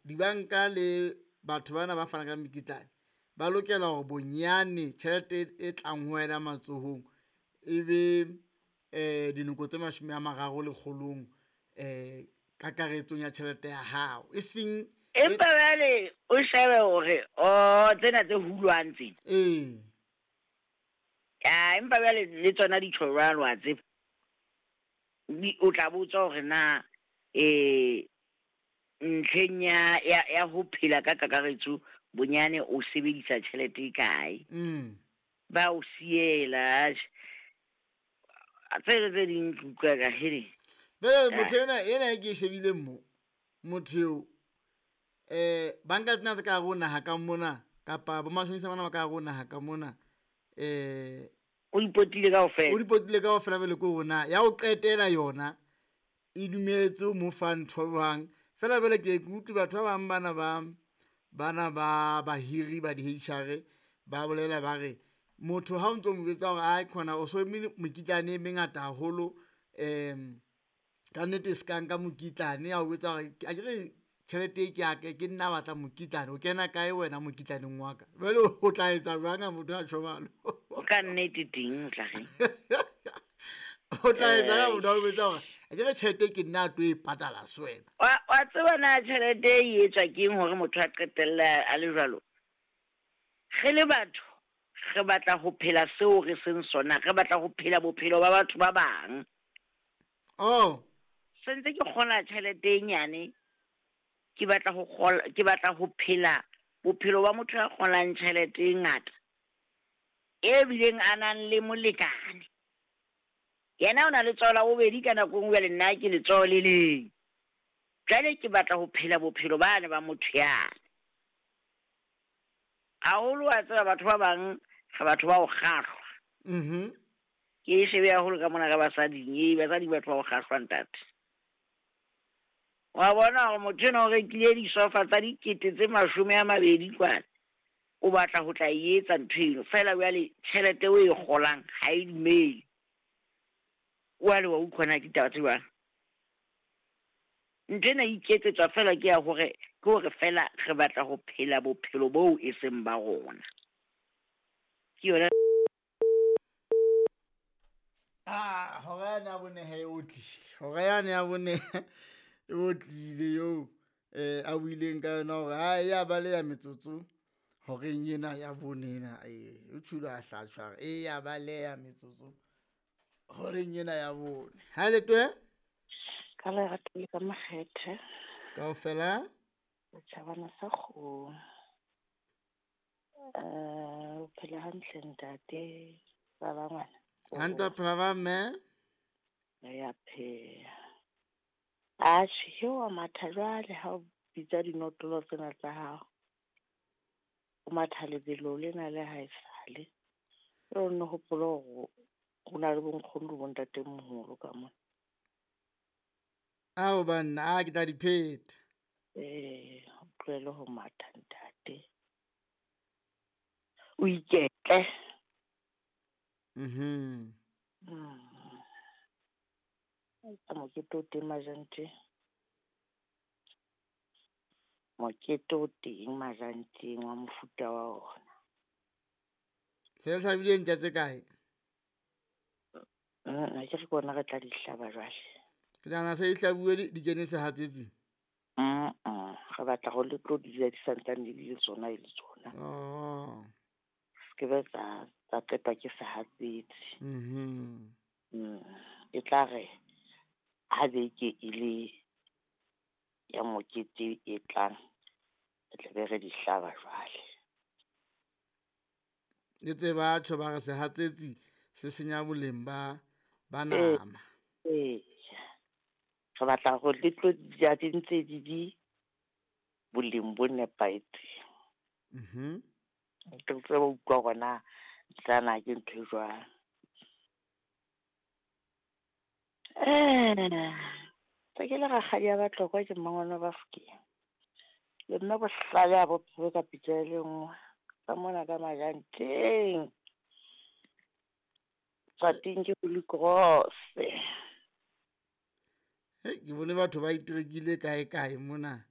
Dibanka le batho bana ba fanang ka mekitlane ba lokela hore bonyane tjhelete e tlang ho wena matsohong e be dinoko tse 30 lekgolong kakaretsong ya tjhelete ya hao, e seng Empa jwale o shebe hore o tsena tse hulwang tsena. Ee. Ya, empa jwale le tsona di tjho jwalo wa tseba. O tla botsa hore na ntlheng ya ho phela ka kakaretso bonyane o sebedisa tjhelete e kae. Ba o siela tse tse ding ke utlwa ka hele. Bele motho ena e ke e shebileng mo, motho eo banka tsena tse ka hare ho naha ka mona kapa bo mashonisa bana ba ka hare ho naha ka mona, o ipotile kaofela. O ipotile kaofela bele ko rona ya ho qetela yona e dumetse ho mo fa ntho jwang. Fela jwale ke ke utlwe batho ba bang bana ba bahiri ba di-H_R ba bolela ba re motho ha o ntso mo jwetsa hore ai khona o so mekitlane e mengata haholo, ka nnete se ka nka mokitlane, a o jwetsa hore akere tjhelete e ke ya ka, ke nna batla mokitlane, o kena kae wena mokitlaneng wa ka? Jwale o tla etsa jwang ha motho a tjho jwalo? Ka nnete teng o tla reng? O tla etsa ha motho a o jwetsa hore akere tjhelete ke nna a tlo e patala se wena. Wa tseba na tjhelete e etswa ke eng hore motho a qetelle a le jwalo? Re le batho re batla ho phela seo re seng sona, re batla ho phela bophelo ba batho ba bang. Oh. Sentse ke kgola tjhelete e nyane, ke batla ho kgola, ke batla ho phela bophelo ba motho ya kgolang tjhelete e ngata, e bileng a nang le molekane. Yena o na le letsoho la bobedi ka nako e nngwe, jwale nna ke letsoho le leng. Jwale ke batla ho phela bophelo bane ba motho yane. Haholo wa tseba batho ba bang re batho ba ho kgahlwa. Ke e shebe haholo ka mona ka basading, basadi batho ba ho kgahlwa ntate. Wa bona hore motho enwa o rekile disofa tsa 20,000 kwana, o batla ho tla e etsa ntho eno. Feela jwale tjhelete o e kgolang ha e dumele. Jwale wa utlwa na ke ditaba tse jwang? Ntho ena e iketsetswa feela ke ya hore, ke hore feela re batla ho phela bophelo boo e seng ba rona. Ke yona. Ah, hora yane ya bone he o tlile. Hora yane ya bone e o tlile eo a buileng ka yona hore ha ya baleha metsotso horeng ena ya bone ena, o tjholo a hlatshwa e ya baleha metsotso horeng ena ya bone. Ha le twe? Ka lerato le ka makgethe. Kaofela? Setjhabana sa kgomo. O phela hantle ntate, ba ba ngwana. Hantle phela ba mme? Re ya phela. Atjhe, he wa matha jwale ha o bitsa dinotlolo tsena tsa hao. O matha lebelo lena le ha esale. O nno hopole hore ho na le bonkgono le bontatemoholo ka mona. Ao banna, a ke tla di pheta. O tlohele ho matha ntate. O iketle. Ka mokete o teng Majanteng. Mokete o teng Majanteng wa mofuta wa ona. Se le hlabile ntja tse kae? Ha ke re ke ona re tla di hlaba jwale. Ke nahana se di hlabuwe di kene sehatsetsing. Re batla hore le tlo di ja di santsane di le tsona e le tsona. Oh. Se be tsa qetwa ke sehatsetsi. E tla re ha beke e le ya mokete e tlang, re tla be re di hlaba jwale. Le tse batho ba re sehatsetsi se senya boleng ba nama. Ee. Re batla hore le tlo di ja di ntse di di boleng bo nepahetseng. Ke tsebe ho utlwa hore na tsana ke ntho e jwang. Tse ke le rakgadi ya Batlokwa ke mmangwane wa Bafokeng. Le mme bohlale ha bo phehwe ka pitsa e le nngwe. Ka mona ka Majanteng. Tswateng ke Holy Cross. Hei, ke bone batho ba iterekile kae kae mona.